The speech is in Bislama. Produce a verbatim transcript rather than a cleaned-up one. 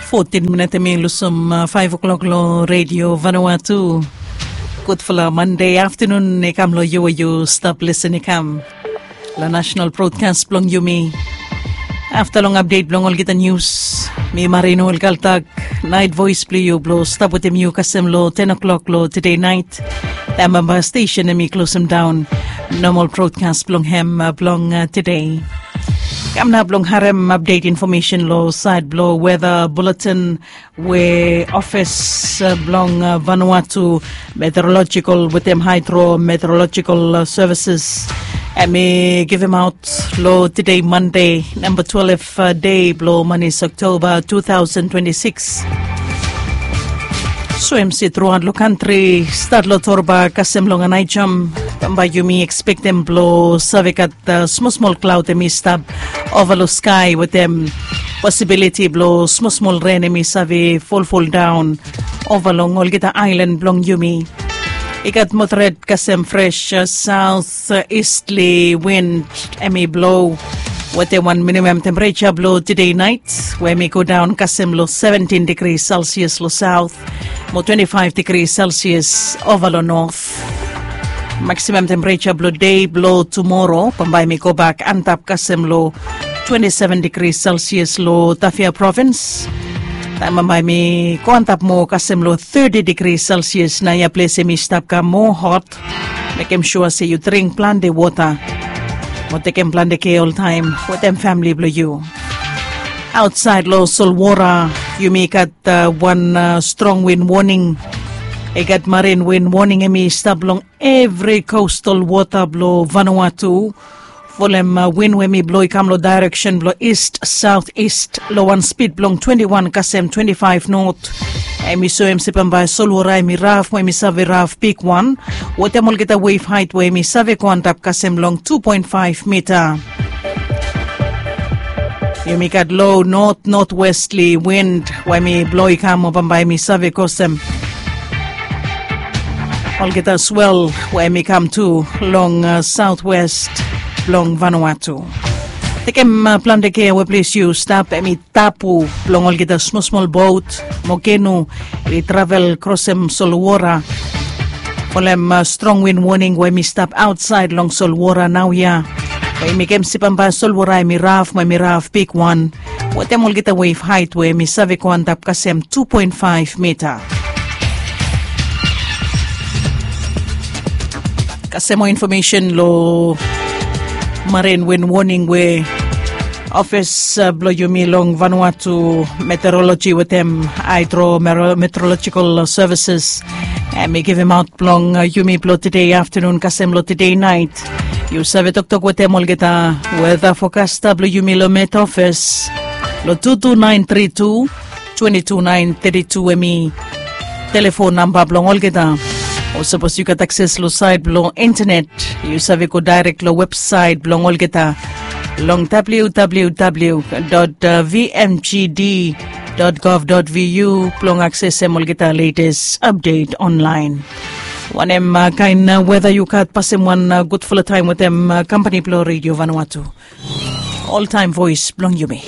Fotin minit em i lusim faiv o'klok long redio Vanuatu. Gudfala Mande aftanun i kam long yu we yu stap lisin i kam long national broadcast blong yumi. Afta long update blong olgeta nius, mi Marino Kaltak, nait voice blong yu blong stap wetem yu kasem long ten o'clock long today night. Taem bamba station em i closem down normal broadcast blong hem blong today. Kam nao blong harem update information long sait blong weather bulletin we ofis blong Vanuatu Meteorological wetem Hydro Meteorological Services em i givemaot long today Mande, namba twelve dei blong manis Oktoba two thousand twenty-six. So em si truaot long kantri, stat long torba kasem long anaijom, bamba yumi ekspektem blong save gat smosmol klaod em i stap ova long skai wetem posibiliti blong smosmol ren em i save folfol daon ova long olgeta aelan blong yumi. I gat moderet kasem fres saot istli win em i blo wetem wan minimam tempereja blong tude nait we em i go daon kasem long seventin digri selsias long saot mo twenti faiv digri selsias ova long not. Maksimam tempereja blong dei blong tumoro bambae mi gobak antap kasem long twenti seven digri selsias long Tafea provins. Taem bambae mi go antap moa kasem long teti digri selsias, naoia ples em i stap kam moa hot. Mekem sua se yu dring plante wota mo tekem plante kea oltaem wetem famili blong yu. Aotsaed long solwora yumi gat wan strong win woning. I gat marin win woning em i stap long evri kostal wota blong Vanuatu. Folem win we em i blo i kam long daereksen blong ist saot ist long wan spid blong twenti wan kasem twenti faiv not. Em i soem se bambae solwora em i raf mo em i save raf bigwan wetem olgeta wef haet we em i save go antap kasem long tu poen faiv mita. Yumi gat lo not notwestli wind we em i blo i kam mo bambae em i save kosem olgeta swel we em i kam tu long saotwest blong Vanuatu. Tekem plante kea we ples yu stap, em i tapu blong olgeta smosmol bot mo kenu i travel krosem solwora. Folem strong win woning we em i stap aotsaed long solwora naoia we em i kemsi bambae solwora em i raf mo em i raf bigwan wetem olgeta wef haet we em i save go antap kasem tu poen faiv mita. Kasem moa infomesen long marin win woning we ofis blong yumi long Vanuatu Meteorologi wetem Hydro Meteorological Services em i givemaot blong yumi blong tude aftanun kasem long tude nait. Yu save toktok wetem olgeta weta fokasta blong yumi long Met Ofis long tu tu naen tri tu twenti tu naen teti tu em i telefon namba blong olgeta. O sapos yu gat akses long saet blong intenet, yu save go daerek long websaet blong olgeta long www dot vmgd dot gov dot vu blong aksesem olgeta letes apdet onlaen. Wanem kaen weta yu gat, pasem wan gudfala taem wetem kampani blong Redio Vanuatu, oltaem voes blong yumi.